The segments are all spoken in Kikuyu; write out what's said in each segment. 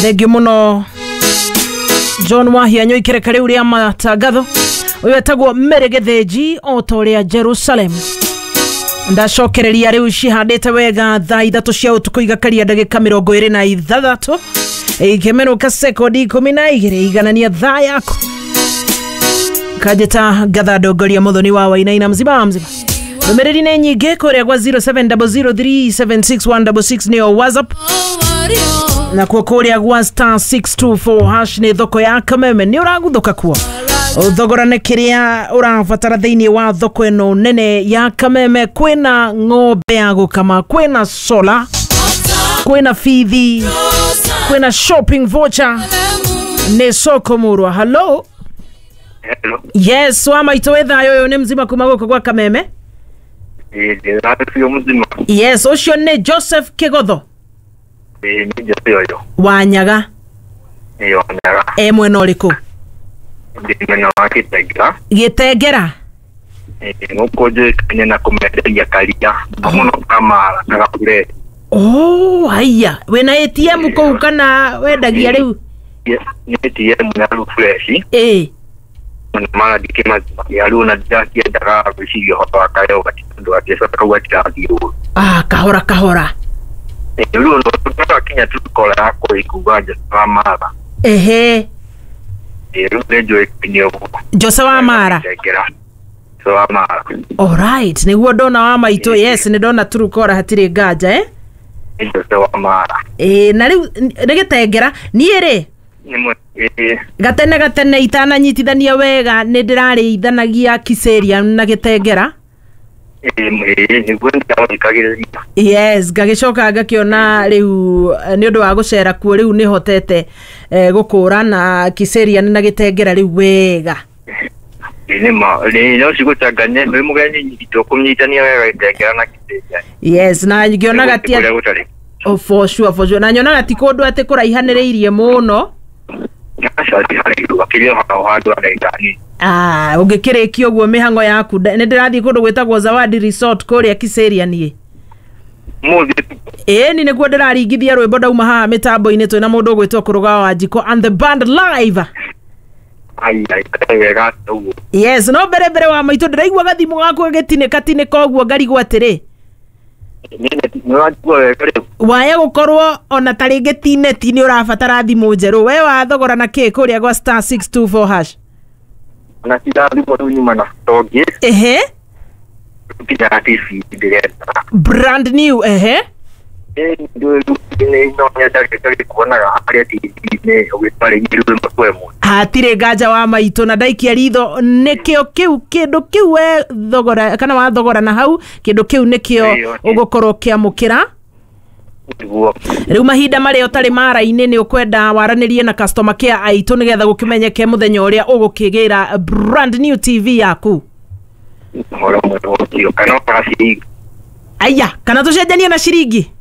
Thengiũ mũno John Wahianyũ ikereka rĩu rĩa matangatho. Ũyũ etagwo Mary Gĩthĩnji o ta ũrĩa Jerusalem. Ndacokereria rĩu cihandĩte wega thaa 3 cia ũtukũ igakaria ndagĩka 26 ikĩmenũka sekondi 12 iganania thaa yaku. Kanjĩta ngatha ndongoria mũthoni wa Wainaina mzima mzima. Ndũmĩrĩri nĩ nyingĩ kũrĩa gwa 0700376166 nĩyo WhatsApp, nakuo kũrĩa gwa star 624 hash nĩ thoko ya Kameme. Nĩ ũraguthũka kuo thogora nĩ kĩrĩa ũrabatara thĩinĩ wa thoko ĩno nene ya Kameme. Kwĩna ng'ombe ya gũkama, kwĩna sola, kwĩna bithi, kwĩna shopping voucher. Nĩ soko murwa. Hello. Hello. Yes, wa maitũ wĩ thayũ. Ũyũ nĩ mzima kuma gũkũ gwa Kameme. Ndĩracio mzima. Yes, ũcio nĩ Joseph Kĩgotho. Nĩ Jose ũyũ. Wanyaga. Ĩĩ, Wanyaga. E mwena ũrĩkũ? Ndĩ mwena wa Gĩtengera. Gĩtengera. Gũkũ njũĩkaine na kũmenderia karia mũno kamara na gabure. Oh, haiya, wĩna ATM kũu kana wendagia rĩu? Nĩ ATM ya fresh. Ĩĩ. Na mara ndikĩmazima ya rĩu na ndĩrakĩendaga gwĩciria ũhoro wa kayogati tondũ atĩ kau gatirathiĩ ũru. Ah, kahora kahora. Rĩu no tu kora yakwa ĩkuga Jose wa Mara. Ehe. Rĩu nĩ njũĩkaine ũguo. Jose wa Mara. Gĩtengera. Jose wa Mara. Alright, nĩguo ndona wa maitũ. Yes, nĩ ndona Turukora hatirĩ nganja, eh? Nĩ Jose wa Mara. Ĩĩ, na rĩu nĩ Gĩtengera. Niĩ rĩ, gatene gatene itananyitithania wega nĩ ndĩrarĩithanagia Kiserian na Gĩtengera. Nĩguo ndĩrathikagĩrĩria. Yes, ngagĩcoka ngakĩona rĩu nĩ ũndũ wa gũcera kuo rĩu nĩ hotete gũkũra na Kiserian na Gĩtengera rĩu wega. Nĩ no cigũcanganie wĩ mũgeni nyitwo kũnyitania wega Gĩtengera na Kiserian. Yes, na ngĩonaga ti Kũrĩa gũtarĩ. Oh, for sure, for sure. Na nyonaga ti kũndũ atĩ kũraihanĩrĩirie mũno. Aca ti haraihu makĩria hao handũ ha ndagĩka nini. Ah, ũngĩkĩrĩkia ũguo mĩhang'o yaku, nĩ ndĩrathiĩ kũndũ gwĩtagwo Zawadi Resort kũrĩa Kiserian niĩ. Mũthĩ. Ĩni nĩguo ndĩraringithia rwĩmbo ndauma haha mĩtambo-inĩ twĩna mũndũ ũgwĩtwo Kũrũga wa Wanjikũ and the band live. Ai ai wega ũguo. Yes, no mbere mbere wa maitũ ndĩraigua gathimũ gaku gagĩtinĩka tinĩka ũguo ngarigwo atĩrĩ. Nĩ wanjigua wega rĩu? Waya gũkorwo ona ta rĩngĩ ti neti nĩ ũrabatara thimũ njerũ. We wathogora na kĩ kũrĩa gwa star 624 hash? Na tira thimũ rĩu nyuma na tongĩ. Ehe. Nginya TV ndĩrenda. Brand new, ehe. No nyendage kuonaga harĩa TV-inĩ ũgĩtwarĩria rwĩmbo kwa ĩmwe. Hatirĩ nganja wa maitũ, na ndaikia ritho nĩkĩo kĩu kĩndũ kĩu we thogora kana wathogora na hau kĩndũ kĩu nĩkĩo ũgũkorwo ũkĩamũkĩra. Nĩguo. Rĩu mahinda marĩa ũtarĩ mara-inĩ nĩ ũkwenda waranĩrie na customer care aitũ nĩgetha gũkĩmenyeke mũthenya ũrĩa ũgũkĩgĩra brand new TV yaku. Ũhoro mwega ũcio kana ona ciringi. Aya, kana tũcenjanie na ciringi.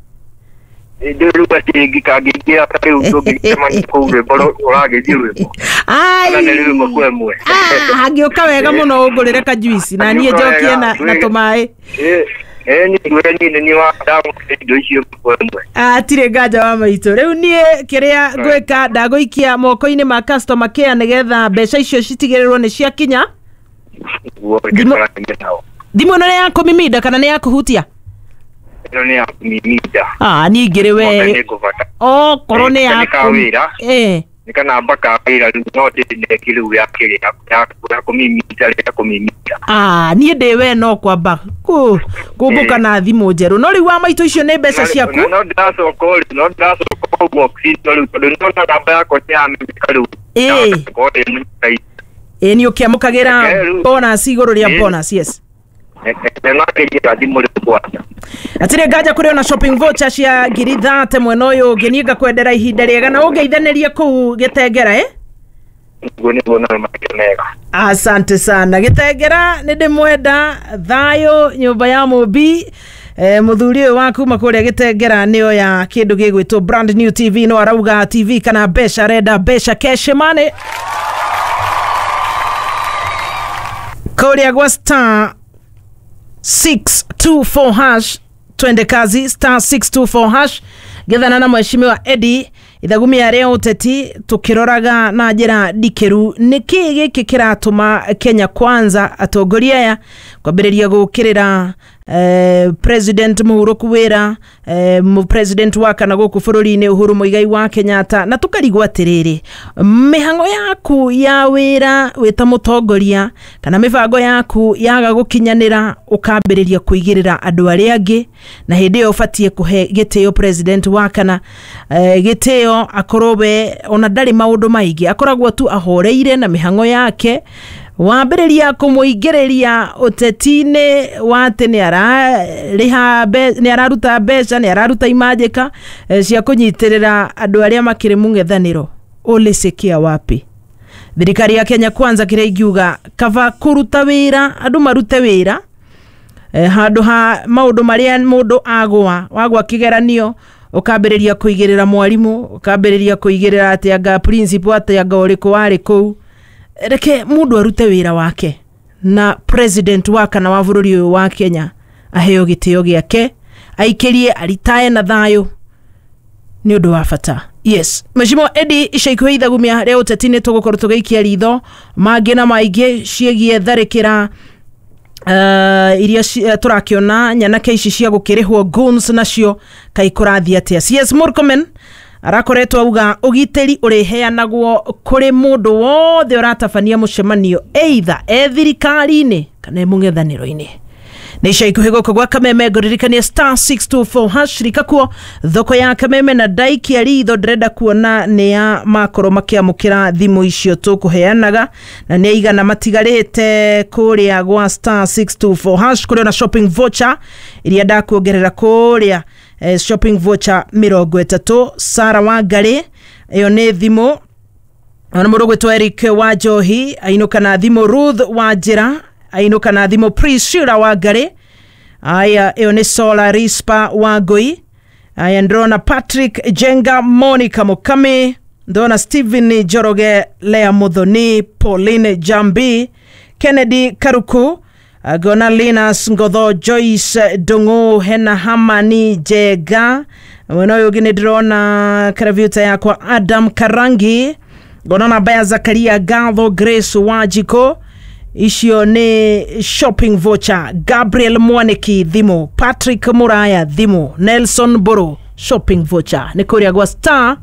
Ndĩ rĩu ciringi kangĩingĩra ta rĩu tũngĩcemania kũu rwĩmbo ũragĩthiĩ rwĩmbo. Ai. Kana nĩ rwĩmbo kwa ĩmwe. Ah, hangĩũka wega mũno ũngũrĩre kajuici na niĩ njokie na tũmaĩ. Niĩ nĩ niĩ wa ndamũkĩra indo icio kwa ĩmwe. Hatirĩ nganja wa maitũ. Rĩu niĩ kĩrĩa ngwĩka ndagũikia moko-inĩ ma customer care nĩgetha mbeca icio citigĩrĩrwo nĩ ciakinya. Nĩguo tũragia nao. Thimũ ĩno nĩ ya kũmiminda kana nĩ ya kũhutia? Ĩno nĩ ya kũmiminda. Ah, niĩ ngĩrĩ we. Nĩngũbata. Okorwo nĩ ya Nĩ ka wĩra. Nĩ kanamba ka wĩra rĩu no ndĩneki rĩu ya kĩrĩa ya kũmiminda rĩa kũmiminda. Ah, niĩ ndĩ we no kwamba kũmbũka na thimũ njerũ. No rĩu wa maitũ icio nĩ mbeca ciaku. No ndĩracoka rĩu no ndĩracoka box ĩno rĩu tondũ nĩndona namba yakwa nĩ yamenyeka rĩu. Ĩĩ. Ĩĩ, nĩ ũkĩamũkagĩra bonus igũrũ rĩa bonus, yes. Thimũ rĩu kwanja. Hatirĩ nganja kũrĩ ona shopping voucher cia 30,000 mwena ũyũ ũngĩ. Niĩ ngakwendera ihinda rĩega na ũngeithanĩrie kũu Gĩtengera, eh? Nĩguo nĩguo na makĩria mega. Asante sana Gĩtengera, nĩ ndĩmwenda thayũ nyũmba ya mũmbi. Mũthuri ũyũ wa kuma kũrĩa Gĩtengera nĩo ya kĩndũ gĩgwĩtwo brand new TV, no arauga TV kana mbeca, arenda mbeca cash money kũrĩa gwa star 624 hash. Twende kazi, star 624 hash. Gethana na mheshimiwa Eddie. Ithagumia rĩa ũteti tũkĩroraga na njĩra ndikĩru nĩkĩ gĩkĩ kĩratũma Kenya Kwanza atongoria aya kwambĩrĩria gũkĩrĩra President mũhurũku wĩra, president wa kana gũkũ bũrũri-inĩ Uhuru Muigai wa Kenyatta, na tũkarigwo atĩrĩrĩ, mĩhang'o yaku ya wĩra wĩ ta mũtongoria kana mĩbango yaku yaga gũkinyanĩra ũkambĩrĩria kũigĩrĩra andũ arĩa angĩ, na hĩndĩ ĩyo ũbatiĩ kũhe gĩtĩo president wa kana gĩtĩo akorwo we ona ndarĩ maũndũ maingĩ, akoragwo tu ahoreire na mĩhang'o yake. Wambĩrĩria kũmũingĩrĩria ũteti-inĩ wa atĩ nĩ araruta mbeca, nĩ araruta imanjĩka cia kũnyitĩrĩra andũ arĩa makĩrĩ mũng'ethanĩro, ũlĩcikia wapi? Thirikari ya Kenya Kwanza kĩrĩa ingiuga kaba kũruta wĩra, andũ marute wĩra handũ ha maũndũ marĩa mũndũ agwa wagwa kĩgeranio ũkambĩrĩria kũigĩrĩra mwarimũ, ũkambĩrĩria kũigĩrĩra atĩ anga principal, atĩ anga ũrĩkũ warĩ kũu. Reke mũndũ arute wĩra wake, na president wa kana wa bũrũri ũyũ wa Kenya aheo gĩtĩo gĩake, aikĩrie aritae na thayũ, nĩ ũndũ wa bata. Yes, Mheshimiwa Eddie, ica ikuhĩ ithagumia rĩa ũteti nĩ tũgũkorwo tũgĩikia ritho mangĩ na maingĩ ciĩgiĩ tharĩkĩra iria tũrakĩona nyanake ici cia gũkĩrĩhwo goons nacio kaĩ kũrathiĩ atĩa. CS Murkomen arakoretwo auga ũgitĩri ũrĩheanagwo kũrĩ mũndũ wothe ũratabania mũcemanio either e thirikari-inĩ kana e mũng'ethanĩro-inĩ. Nĩ ica ikuhĩ gũkũ gwa Kameme ngũririkania star 624 hash rikakuo thoko ya Kameme na ndaikia ritho ndĩrenda kuona nĩ ya makorwo makĩamũkĩra thimũ icio tũkũheanaga, na nĩ aigana matigarĩte kũrĩa gwa star 624 hash kũrĩ ona shopping voucher iria ndakuongerera kũrĩa, shopping voucher 30. Sara Wangari ĩyo nĩ thimũ, ona mũndũ ũgwĩtwo Eric wa Njohi ainũka na thimũ, Ruth wa Njĩra ainũka na thimũ, Priscilla Wangari aya ĩyo nĩ Sola Rispa wa Ngui, aya ndĩrona Patrick Jenga, Monica Mukami, ndĩrona Stephen Njoroge, Lea Muthoni, Pauline Jambi, Kennedy Karuku, ngona Linus Ngotho, Joyce Ndung'u, hena Hamani Njega, mwena ũyũ ũngĩ nĩ ndĩrona karabiuta yakwa Adam Karangi, ngona namba ya Zakaria Gatho, Grace Wajiko, icio nĩ shopping voucher, Gabriel Mwaniki thimũ, Patrick Muraya thimũ, Nelson Mburu shopping voucher, nĩ kũrĩa gwa star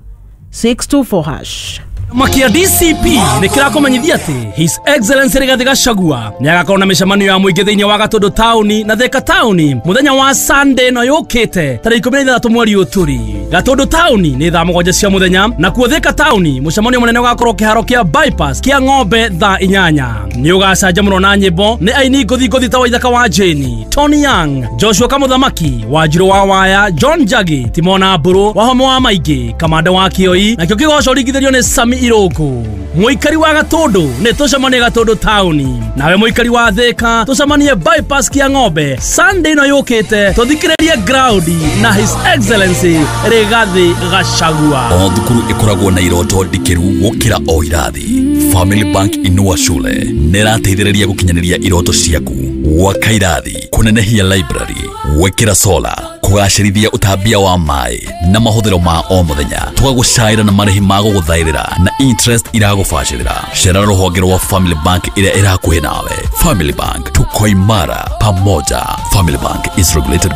624 hash. Makia DCP nĩ kĩrakũmenyithia atĩ His Excellency Rigathi Gachagua nĩ agakorwo na mĩcemanio ya mũingĩ thĩinĩ wa Gatũndũ taũni na Thika taũni mũthenya wa Sunday ĩno yũkĩte tarĩki 16 mweri ũyũ tũrĩ. Gatũndũ taũni nĩ thaa 7 cia mũthenya, nakuo Thika taũni mũcemanio mũnene ũgakorwo kĩharo kĩa bypass kĩa ng'ombe thaa 8. Nĩ ũgacanjamũrwo na nyĩmbo nĩ aini ngũthi ngũthi ta Waithaka wa Jane, Tony Young, Joshua Kamũthamaki, Wanjirũ wa Waya, John Njagi, Timona Mbũrũ, Wahome wa Maingĩ, Kamanda wa Kĩoi, nakĩo kĩgoco ringithĩrio nĩ Sami Irũngũ. Mũikari wa Gatũndũ nĩ tũcemanie Gatũndũ taũni, nawe mũikari wa Thika tũcemanie bypass kĩa ng'ombe Sunday ĩno yũkĩte, tũthikĩrĩrie ground na His Excellency Rigathi Gachagua. O thukuru ĩkoragwo na iroto ndikĩru gũkĩra o irathi. Family Bank Inua Shule nĩ ĩrateithĩrĩria gũkinyanĩria iroto ciaku, gwaka irathi, kũnenehia library, gwĩkĩra solar, kũgacĩrithia ũtambia wa maĩ na mahũthĩro ma o mũthenya, tũgagũcaĩra na marĩhi ma gũgũthaĩrĩra na interest iragũbacĩrĩra. Cera rũhonge rwa Family Bank ĩrĩa ĩrakuhĩ nawe. Family Bank, tuko imara pamoja. Family Bank is regulated